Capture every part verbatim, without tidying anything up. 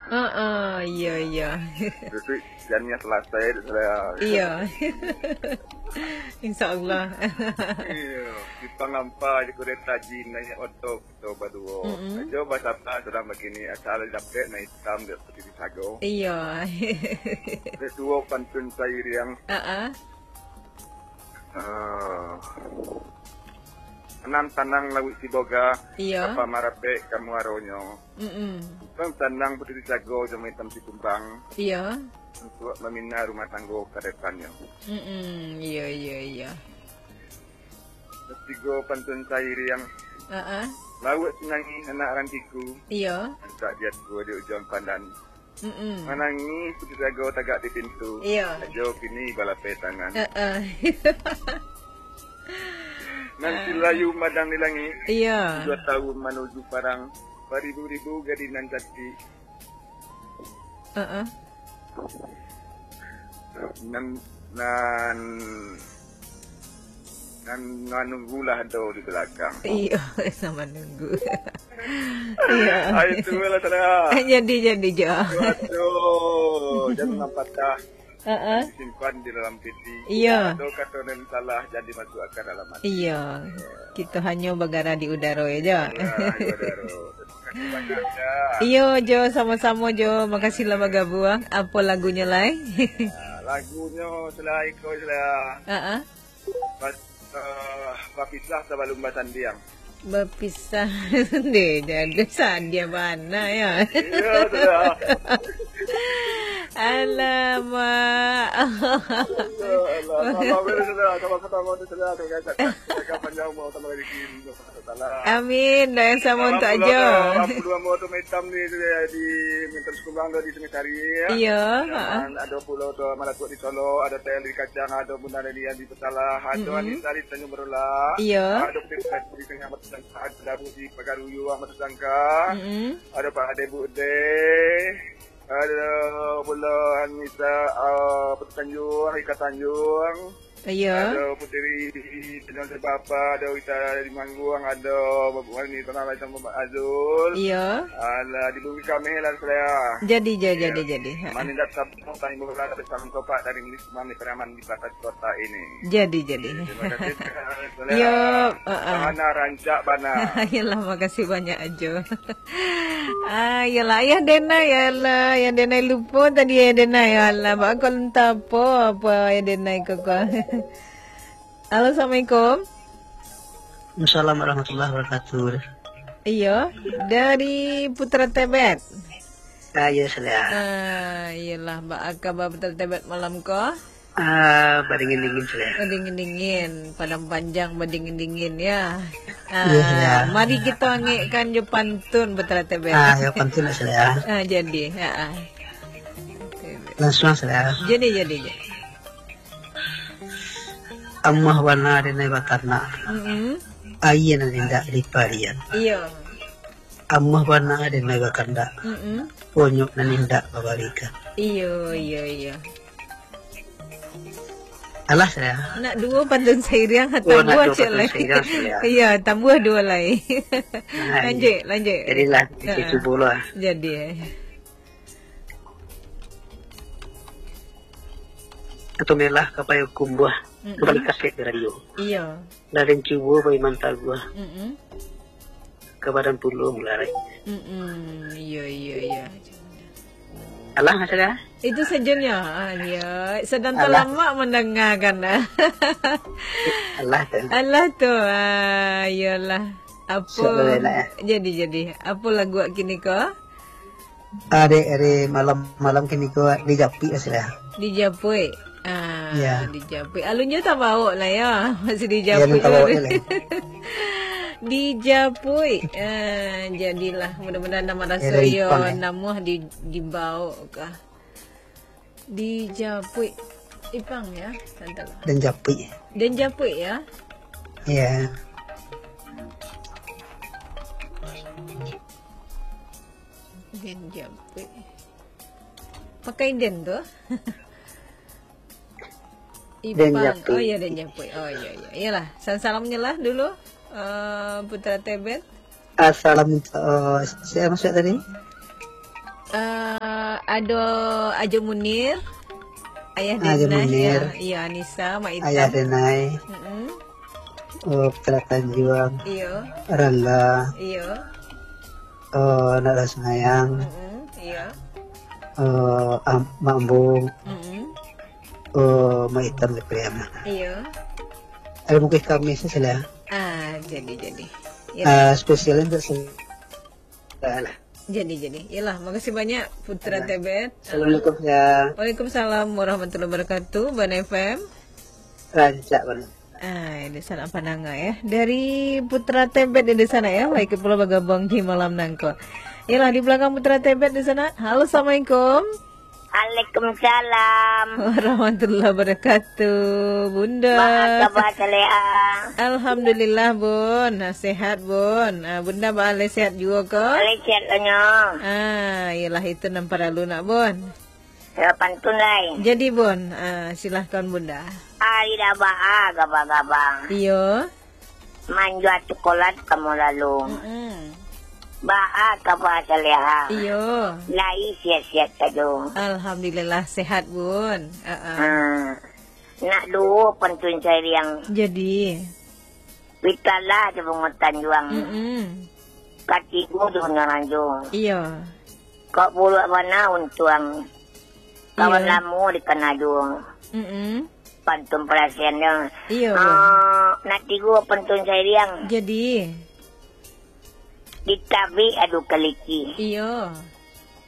Heeh, iyo, iyo. Itu janiah salasai tu salah. Iyo. Insya Allah. Iyo, Ipang ampa je kureta jin naiak oto kito baduo. Mm-mm. Ajo basapa surang bakini, asal dapek nan itam dek putih sago. Iyo. Dek duo pantun sairiang. Heeh. Ah. Tanang-tanang lauik Siboga, Iyo. Kapa marapek ka muaronyo. Mm-mm. Tanang putih sago jo itam si kumbang. Iyo. Untuak mamina rumah tanggo ka depannyo. Mm-mm. Iyo, iyo, iyo. Tigo pantun sairiang. Heeh. Lauik Sinangih anak rantiku. Iyo. Antak diat ko di ujuang pandan. Mm-mm. Manangih putih sago tagak di pintu. Iyo. Ajo kini balapeh tangan. Heeh. Nan silayu madang di langik. Iyo. Tujuah tahun manuju parang. Baribu-ribu gadih nan cantik. Heeh. Nan, nan, nan manunggulah do di balakang. Iyo, sama nunggu. Iyo. Ah, itu lah, saudara. Jadi, jadi, Jo. Waduh, jangan patah. Heeh. Disimpan di dalam peti. Iyo. Ado kato nan salah, jadi masuk ka dalam hati. Iyo. Kito hanyo bagara di udaro, yo, Jo. Bagara di udaro. Terima kasih banyak, Jo. Iyo, Jo, samo-samo, Jo. Makasih lah bagabuang. Apo lagunyo lai? Ah, lagunyo selain ko, selain Heeh. Bas-, eh, bapisah sabalum basandiang. Bapisah. Deh, jadi sadia bana, yo. Iyo, sudah. Alamak. Alah, alah, alah, alah, sudah. Kalau kata mau tu, sudah. Kalau kata, kata panjang mau tambah lagi. Amin. Doa yang sama untuk Ajo. Ampun, ambo tu maitam ni, di, di Mintan Sekumbang tu di Sungai Sari, ya. Iyo, Zaman heeh. Ado pulo tu Malatuak di Solo, ado Tel di Kacang, ado Bunda Lelian di Petalah, ado Mm-mm. Anissa di Tanjung Berulah, Iyo. Ado Putri Sukati di Tengah Batu Sangka, ado Dabu di Pagaruyuang Batu Sangka, Mm-mm. Ado Pak Ade Bude, ado pulo Anissa, ah, Putri Tanjung, Rika Tanjung, Iyo. Ado Puteri Tanjung Sebapa, ado Wita di Mangguang, ado Bapak Wani Tanah Lai sama Bapak Azul. Iyo. Alah, di Bumi Kameh lah, Selea. Jadi, ja-, Iyo. Jadi, jadi. Ha. Manindak sabun, tanggung bola, tapi salam topak dari Milik Mami Preman di Pasar Kota ini. Jadi, jadi. Terima kasih, Selea. Iyo, ha, ha. Bana rancak, bana. Iyolah, makasih banyak, Ajo. Ah, iyolah, Ayah Denai, iyolah, Ayah Denai lupo tadi, Ayah Denai, iyolah, bak kau entah apo, apo Ayah Denai kau, kau. Halo, Assalamualaikum. Assalamualaikum warahmatullahi wabarakatuh. Iyo, dari Putra Tebet. Ah, iyo, Selea. Ah, iyolah, bak kaba Putra Tebet malam ko? Ah, badingin-dingin, Selea. Badingin-dingin, Padang Panjang badingin-dingin, ya. Iya, Selea. Ah, mari kito angekkan jo pantun, Putra Tebet. Ah, yo, pantun lah, Selea. Ah, jadi, ha, ah. Langsung, Selea. Jadi, jadi, jadi. Amuah bana denai batanak. Mm-mm. Aia nan indak diparian. Iyo. Amuah bana denai bakandak. Mm-mm. Ponyok nan indak babalikan. Iyo, iyo, iyo. Alah, Selea. Nak duo pantun sairiang, oh, nak tambuah duo ciek pantun lai. Sairiang, Selea. Iyo, tambuah duo lai. Nah, lanjuik, lanjuik. Jadilah, ha, cubo lah. Jadi, eh. Atau melah ka payuang kumbuah, Mm-mm. Bali kasek di radio. Iyo. Lah den cubo pai mantaguah. Mm-mm. Ka badan pulo mularai. Mm-mm. Iyo, iyo, iyo. Alah, Selea? Itu sajonyo. Ah, iyo. Sadang talamak mandangakan. Alah tu. Alah tu. Ah, iyolah. Apo? Jadi, jadi. Apo lagu kini ko? Ah, dek, dek malam, malam kini ko dijapuik lah, Selea. Dijapuik. Ah, ya. Dijapuik. Alun jo tabaok lah, ya. Masih dijapuik. Ya, tabaok lah. Dijapuik. Ah, jadilah. Mudah-mudahan nan maraso yo namuah di, dibaok kah. Dijapuik. Ipang, ya. Santai lah. Den japuik. Den japuik, ya. Ya. Den japuik. Pakai den tu? Den japuik. Oh, iya, den japuik. Oh, iya, iya. Iyalah, salam-salamnyo lah dulu, eh, Putra Tebet. Assalamualaikum. Eh, sia masuk tadi? Eh, Ado Ajo Munir, Ayah Ajo Denai, Munir. Ya, iya, Anissa, Mak Itam. Ayah Denai. Mm-mm. Oh, Putra Tanjuang. Iyo. Rangga. Iyo. Oh, Nak Rasnayang. Mm-mm, iyo. Oh, Am-, Mambung. Mm-mm. Oh, Mak Itam di Priam. Iyo. Ada mungkin kami sih, lah. Ah, jadi, jadi. Ya. Ah, spesialnya untuk sel-, lah. Jadi, jadi. Yalah, makasih banyak, Putra Tebet. Assalamualaikum, ya. Waalaikumsalam warahmatullahi wabarakatuh, Bana F M. Rancak, Bana. Ah, di sana apa nanga, ya? Dari Putra Tebet di sana, ya. Baik, pulo bagabung di malam nangko. Yalah, di belakang Putra Tebet di sana. Halo, assalamualaikum. Waalaikumsalam. Warahmatullahi wabarakatuh, Bunda. Baa kaba, Saleha? Alhamdulillah, Bun. Ah, sehat, Bun. Ah, Bunda baa, lai sehat juo ko? Lai sehat nyo. Ah, iyolah, itu nan paralu nak, Bun. Yo, pantun lai. Jadi, Bun, ah, silahkan, Bunda. Ari dah baa gaba-gaba. Iyo. Manjua cukolat kamo lalu. Mm-mm. Baa kaba, Saleha? Iyo. Lai sehat-sehat sajo. Alhamdulillah, sehat, Bun. Heeh. Ha. Nak duo pantun sairiang. Jadi. Witalah di bungo tanjuang. Mm-mm. Katigo di bungo ranjo. Iyo. Kok buruak bana untuang. Kawan Iyo. lamo dikana juo. Mm-mm. Pantun parasian nyo. Iyo, Ah, nak tigo pantun sairiang. Jadi. Ditabik adu kaliki. Iyo.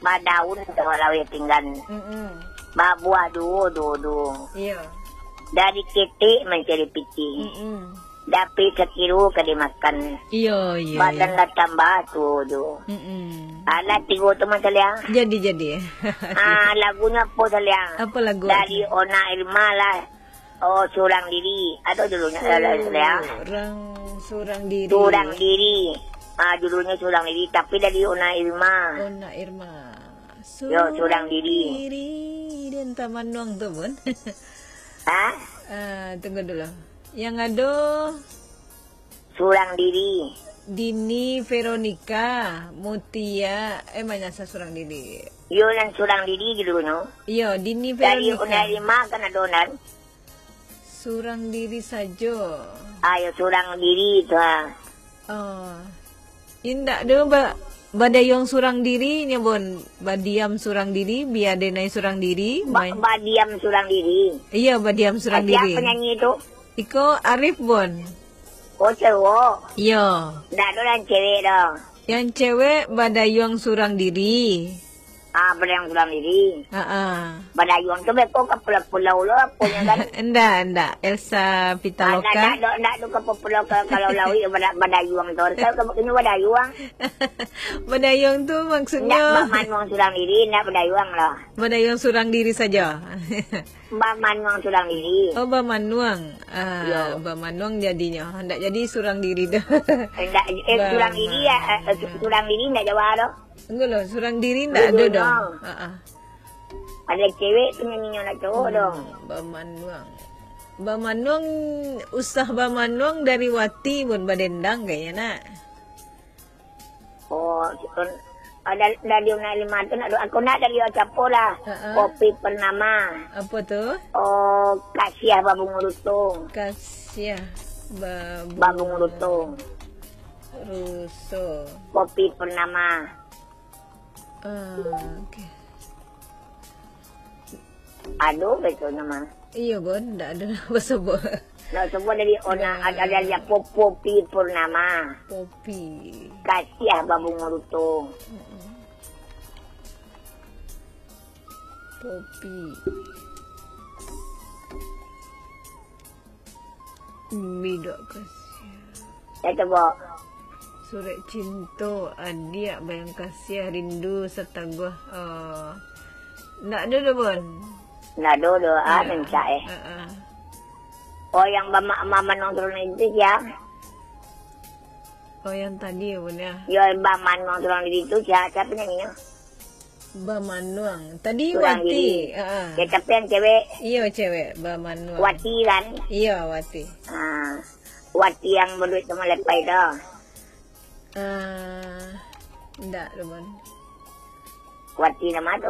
Badaun tawak laweh pinggan. Mm-mm. Babuah duo, duo, duo. Iyo. Dari ketek mancari piti. Mm-mm. Dapik sakiro ka dimakan. Iyo, iyo, Badan iyo. lah tambah tuo juo. Mm-mm. Alah tigo tu, Mas Alia. Jadi, jadi. Ah, lagunyo apo, Salia? Apo lagu Dari awak? Ona Irma lah. Oh, Surang Diri. Ado judulnyo, eh, Salia. Surang, Surang Diri. Surang Diri. Ah, judulnyo Surang Diri, tapi dari Ona Irma. Ona Irma. Yo, Surang Diri. Diri. Dia entah manuang tu pun. Ha? Ah, tunggu dulu. Yang ado Surang Diri. Dini Veronica, Mutia, eh, manyasah Surang Diri. Yo, nan Surang Diri judulnyo. Iyo, Dini Dari Veronica. Ona Irma kan ado nan. Surang Diri sajo. Ayo, Surang Diri tu, ha. Oh. Indak doh, ba-, badayuang surang diri nyo, Bon. Badiam surang diri, bia denai surang diri. Ba-, main. Badiam surang diri. Iyo, badiam surang Ah, sia diri. penyanyi tu? Iko Arif, Bon. Oh, cowok. Iyo. Ndak ado nan cewek doh. Yang cewek badayuang surang diri. Ah, badayuang surang diri. Ha-ah. Badayuang tu beko ka pulau-pulau lo, aponyo kan? Ndak, ndak. Elsa Ah, ndak, Pitaloka. ndak, ndak, ndak tu ka pulau, ka, kalau lauik bada-, badayuang tu. Kan ka kini badayuang. Badayuang tu Ndak maksudnyo bamanuang surang diri, ndak badayuang lah. Badayuang surang diri saja. Bamanuang surang diri. Oh, bamanuang. Ah, Yo. bamanuang jadinyo. Ndak jadi surang diri doh. Eh, ndak, eh, surang diri, ya, eh, eh, Bamanuang. surang diri ndak Jawa doh. Tunggu lo, surang diri ndak ado Dulu doh. no. Ha-ah. Ado cewek penyanyi nyo nak cowok doh. Hmm, bamanuang. Bamanuang, usah bamanuang dari wati pun badendang kayaknya, nak. Oh, ada dari Una Lima tu nak, aku nak dari Ocapo lah. Ha-ah. Kopi Purnama. Apa tu? Oh, Kasiah Babungo Ruto. Kasiah Babungo Babungo Ruto. Ruso. Kopi Purnama. Ah, okey. Ado betul nama. Iyo, Bon, ndak ado nak basobok. Nak sebut dari Ona, Nah. ada, ada dia Popo Pi Purnama. Popi. Kasiah Babungo Ruto. Mm-mm. Popi. Bidak kasiah. Ya, coba. Surek cinto, adiak, bayang kasiah, rindu, sataguah. Oh. Ndak ado doh, Bon? Ndak ado doh, ah, Ya. rancak, eh. Ha, ha. Oh, yang bama-, mamanuang turun itu sia? Oh, yang tadi ya, Bon, ya? Yo, bamanuang turun itu sia, sia penyanyinya? Bamanuang. Tadi Surang Wati. Diri. Ha, ha. Ya, tapi yang cewek. Iyo, cewek. Bamanuang. Wati, kan? Iyo, Wati. Ah, Wati yang berduit sama Lepai tu. Ah, ndak, Bon. Wati nama tu?